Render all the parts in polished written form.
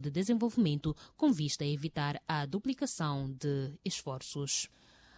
De desenvolvimento com vista a evitar a duplicação de esforços.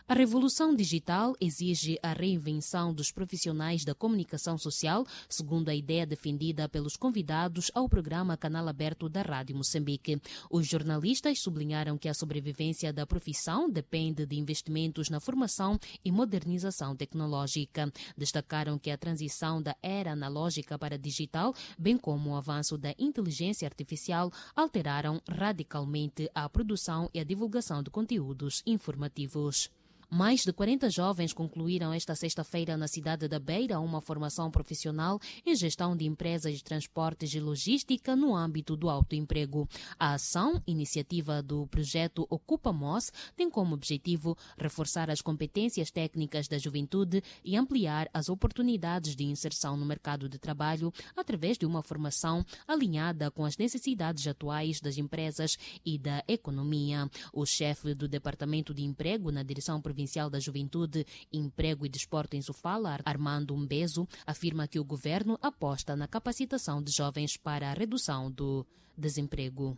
A revolução digital exige a reinvenção dos profissionais da comunicação social, segundo a ideia defendida pelos convidados ao programa Canal Aberto da Rádio Moçambique. Os jornalistas sublinharam que a sobrevivência da profissão depende de investimentos na formação e modernização tecnológica. Destacaram que a transição da era analógica para digital, bem como o avanço da inteligência artificial, alteraram radicalmente a produção e a divulgação de conteúdos informativos. Mais de 40 jovens concluíram esta sexta-feira na cidade da Beira uma formação profissional em gestão de empresas de transportes e logística no âmbito do autoemprego. A ação, iniciativa do projeto Ocupa Moz, tem como objetivo reforçar as competências técnicas da juventude e ampliar as oportunidades de inserção no mercado de trabalho através de uma formação alinhada com as necessidades atuais das empresas e da economia. O chefe do Departamento de Emprego na Direção Provincial da Juventude, Emprego e Desporto em Sofala, Armando Mbezo, afirma que o governo aposta na capacitação de jovens para a redução do desemprego.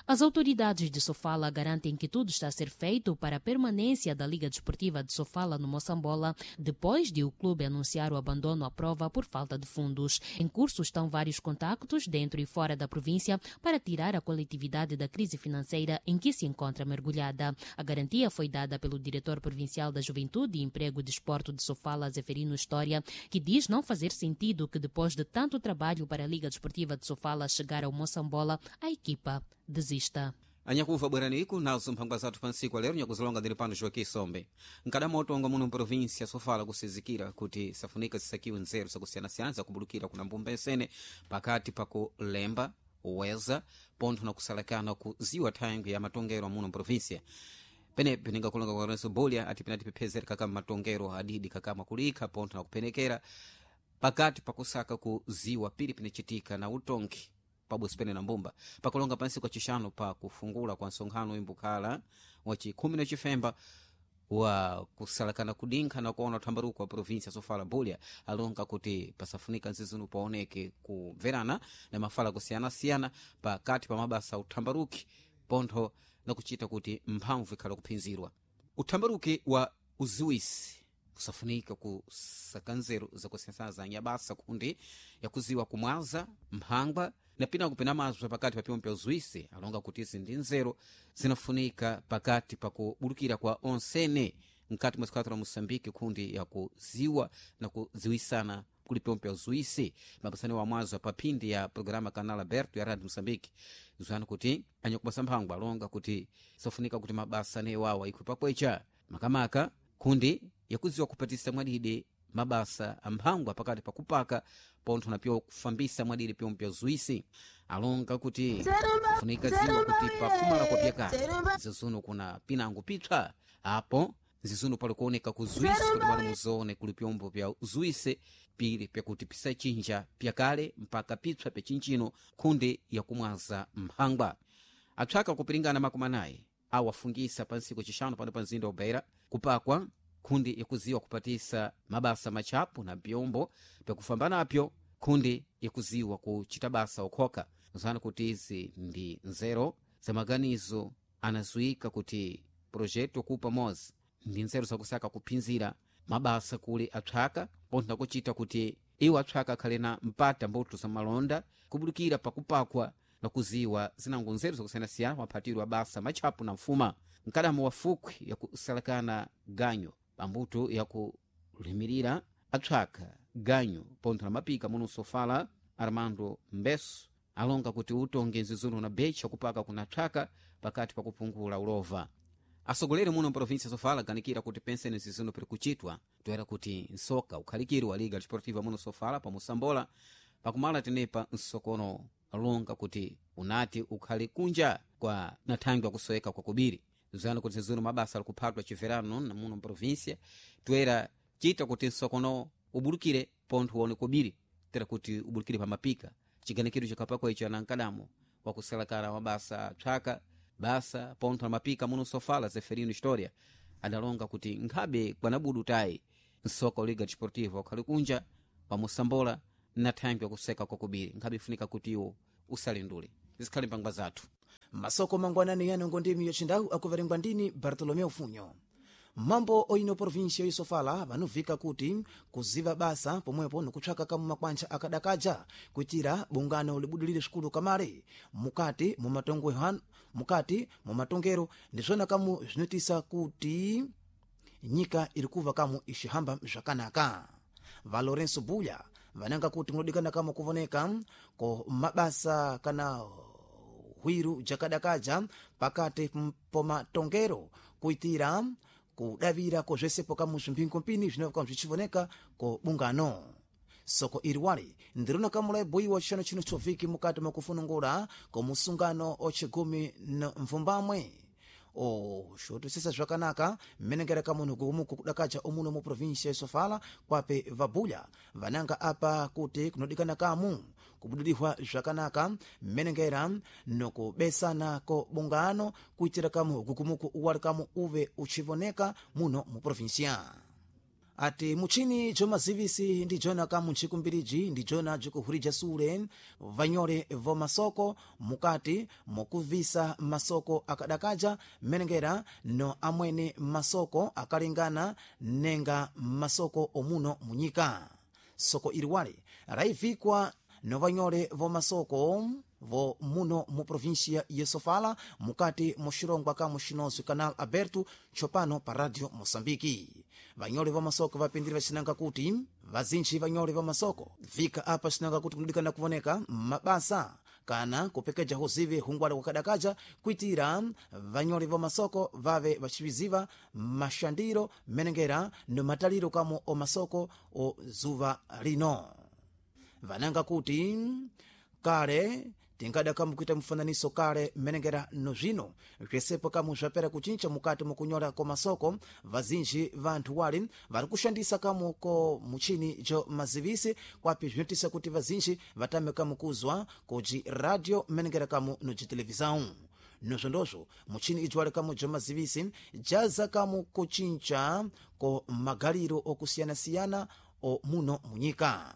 As autoridades de Sofala garantem que tudo está a ser feito para a permanência da Liga Desportiva de Sofala no Moçambola, depois de o clube anunciar o abandono à prova por falta de fundos. Em curso estão vários contactos dentro e fora da província para tirar a coletividade da crise financeira em que se encontra mergulhada. A garantia foi dada pelo diretor provincial da Juventude, Emprego e Desporto de Sofala, Zeferino História, que diz não fazer sentido que depois de tanto trabalho para a Liga Desportiva de Sofala chegar ao Moçambola, a equipa desista. Anyakuva bweraniku nazo mphangwa zathu pa ntsiku lero nyakuzilonga ndili pano Joaquim Sombe. Nkadamotonga muno mprovinsia Sofala kusizikira kuti safunika zisakiwe nzeru zakusiyanasiyana zakubulukira kuna mbumba ensene pakati pakulemba uweza pontho na kusalakana kuziwa thangwi ya matongero muno mprovinsia. Penepe ningakulonga kwa Lorenzo Bolia ati penati pephezera kakama matongero adidi kakama kulikha pontho na kupenekera pakati pakusaka kuziwa pili pinachitika na utongi pabwezi pene na mbumba. Pakulonga pansi kwa chixano pa kufungula kwa nsonkhano imbukhala wa chikhumi na chifemba wa kusalakana kudinkha na kuona uthambaruko wa provinsia Sofala, Bulya alonga kuti pasafunika nzizunu paoneke kumverana na mafala kusiyanasiyana pakati pa mabasa uthambaruki pontho na kuchita kuti mphamvu ikhala kuphinzirwa uthambaruki wa uziwisi. Kusafunika kusaka nzeru zakusiyanasiyana za nyabasa kundi yakuziwa kumwaza mphangwa na pina kupina mazwa pakati pa pyomwe pya uzuisi. Alonga kuti izi ndi nzeru zinafunika pakati pakubulukira kwa onsene mkati mwa sikatu la Moçambique kundi yakuziwa na kuziwisana kuli pyomwe pya uzuisi. Mapasani wa mwazo pa phindi ya programa Canal Aberto ya Radio Moçambique zwana kuti anyakubasa mphangwa alonga kuti safunika kuti mabasa newawa ikhwe pakwecha makamaka kundi yakuziwa kupatisa mwadidi mabasa amphangwa pakati pakupaka pontho na pyo kufambisa mwadidi pyomwe pya uzuisi. Alonga kuti funika ziwa kuti pakumala kwa pyakale zizuno kuna pinango pipsa apo zizuno pali kuoneka kuzuisi kuti pano muzoone kuli pyombo pya uzuisi pili pyakuti pisachinja pyakale mpaka pipsa pyachinchino khundi yakumwaza mphangwa. Apsaka kupiringana makumi anayi awafungisa pa ntsiku chixano pano pa mzinda wa Beira kupakwa khundi yakuziwa kupatisa mabasa machapu na pyombo pyakufamba napyo khundi yakuziwa kuchita basa ukhoka. Zana kuti izi ndi nzeru za maganizo anazuika kuti projeto kupa mozi ndi nzeru zakusaka kuphinzira mabasa kuli apsaka pontho nakuchita kuti iwo apsaka akhale na mpata mbuto za malonda kubulukira pakupakwa na kuziwa zinango nzeru zakusiyanasiyana maphatiro a basa matchapu na mfuma. Mkadamo wa fukwi yakusalakana ganyo pambuto yakulimirira apsaka ganyo pontho na mapika muno Sofala, Armando Mbeso alonga kuti utonge nzizuno na becha kupaka kuna psaka pakati pakupungula ulova. Asogoleri muno mprovinsia Sofala aganikira kuti penseni nzizuno piri kuchitwa toera kuti nsoka ukhalikiri wa Liga Desportiva muno Sofala pa Moçambola pakumala tenepa nsokono alonga kuti unati ukhali kunja kwa nathangwi akusoweka kwa kubiri. Zana kuti zizuno mabasa alikuphatwa chiverano na muno mprovinsia toera chita kuti nsokono ubulukire pontho uone kubiri tera kuti ubulukire pamapika. Chiganikiro chikapakwa icho anankadamo wakusalakala mabasa psaka basa pontho na mapika muno Sofala, Zeferino História adalonga kuti nkhabe kwanabudu tayi nsoka Liga Desportiva ukhali kunja pa Moçambola na thangwi akuseka kwa kubiri nkhabe ifunika kuti iwo usalindule zikhale mpangwa zathu. Masoko mangwanani yano ngondimi yocindawu akuverengwa ndini Bartolomeu Funyo. Mambo oino província yosofala vanuvika kuti kuziva basa pomwepo nikutchaka kamu makwantcha akadakaja kuitira bungano libudilire sukulu kamale mukati mukati mumatongero ndizvona kamu zvinotisa kuti nyika iri kuva kamu ixihamba zvakanaka. Va Lourenço Bulha vananga kuti kunodikana kamu kuvoneka ko mabasa kana hwiru jakadakaja pakati pomatongero kuitira kudavira ko zvesepo kamu zvimphingompini zvinova zvichivoneka ko bungano. Soko iri wali ndirona kamulayibuyiwa chishanu chino choviki mukati mwakufunungula ko musungano ochigumi na mvumbamwe oxotosesa zvakanaka mmenengera kamunhu gukumuku kudakaja omuno mu província ya Sofala kwape vabulya vananga apa kuti kunodikana kamu kubudilihwa zvakanaka mmenengera nokubesana ko bungano kuitira kamu gukumuku uwali kamu uve uchivoneka muno mu província. Ati muchini jomazivisi ndijona kamu nchikumbiriji ndijona jikuhurija sule vanyole vomasoko mukati mukuvisa masoko akadakaja mmenengera no amwene masoko akalingana nenga masoko omuno munyika. Soko iliwali raivikwa no vanyole vomasoko vo muno mu província ya Sofala mukati muxirongwa ka muxinonso Canal Aberto tsopano pa Radio Moçambique. Vanyole va masoko vapindiri vacinanga kuti vazintchi vanyole va masoko vika apa cinanga kuti kunodikana kuvoneka mabasa kana kupekeja huzivi hungwale wakadakaja kuitira vanyole va masoko vave vaciviziva mashandiro menengera no mataliro kamo o masoko o zuva lino. Vananga kuti kale tingada kamu kuita mfananiso kale mmenengera no zvino zvesepo kamu zvapera kuchincha mukati mukunyola ko masoko. Vazinji vanthu wali vari kushandisa kamu ko muchini jo mazivisi kwapi zvinotisa kuti vazinji vatame kamu kuzwa koji radio mmenengera kamu no jitelevisão. Nozvondozvo muchini ijo wali kamu jo mazivisi jaza kamu kuchincha ko magaliro okusiyana-siyana o muno munyika.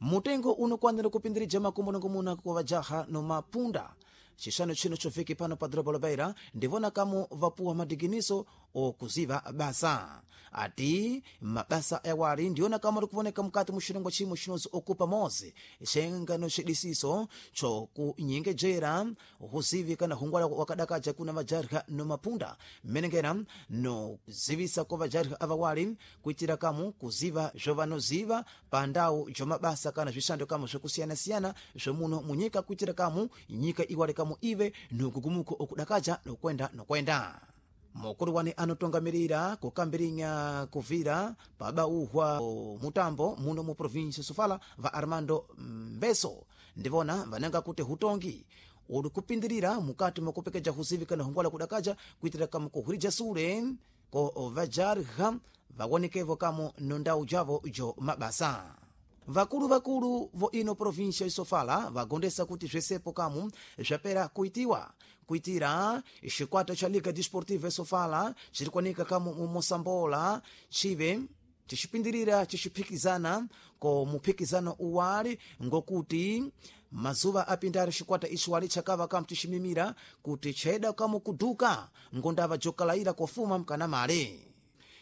Mutengo unokwanira kupindirija makumbo kwa vajaha no mapunda chixano chino choviki pano pa doroba la Beira ndivona kamu vapuwa madiginiso okuziva basa. Ati mabasa awali ndiona kamu ari kuvoneka mukati muxirongwa chimwe chinozi okupa mozi xengano xidisiso chokunyengejera huzivi kana hungwala wakadakaja kuna vajarha no mapunda mmenengera no zivisa ko vajarha avawali kuitira kamu kuziva zvovanoziva pa ndau jomabasa kana zvishando kamu zvokusiyana-siyana zvomuno munyika kuitira kamu nyika iwale kamu ive nogugumuko okudakaja nokwenda nokwenda. Mukulu wane anotongamirira kukambirinya kuvira pabauhwa mutambo muno mu província Sofala va Armando Mbeso ndivona vananga kuti hutongi uli kupindirira mukati mwakupekeja huzivi kana hungwala kudakaja kuitira kamu kuhurija sule ko vajarha vawonekevo kamu nondau javo jo mabasa. Vakulu vakulu vo ino província Sofala vagondesa kuti zvesepo kamu zvapera kuitiwa kuitira xikwata cha Liga Desportiva Sofala chiri kuanika kamu mu Mosambola chive chixipindirira chixiphikizana ko muphikizano uwali ngokuti mazuva apindari xikwata ixiwali chakava kamu tiximimira kuti chayeda kamu kuduka ngondava jokalaira kofuma mkana male.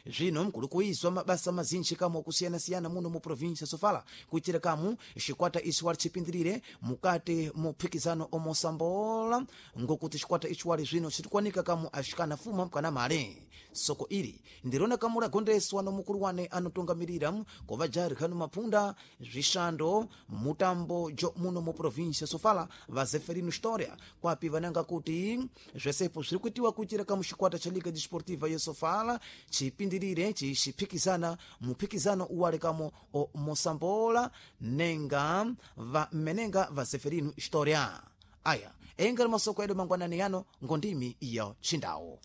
Zvino mkuli kuizwa mabasa mazinji kamu okusiyana-siyana muno mu província Sofala kuitira kamu xikwata ixiwali chipindirire mukati muphikizano omosambola ngokuti xikwata ixiwali zvino xirikuanika kamu axikana fuma mkana male. Soko iri ndirona kamu lagondeswa no mukulu wane anotungamirira kovajarha no mapunda zvishando mutambo jo muno mu província Sofala va Zeferino História kwapi vananga kuti zvesepo zviri kuitiwa kuitira kamu xikwata cha Liga Desportiva ya Sofala chipindirire chixiphikizana muphikizano uwale kamo o Mosambola nenga va mmenenga va Zeferino História. Aya engari masoko edu mangwanani yano ngondimi iyo chindawo.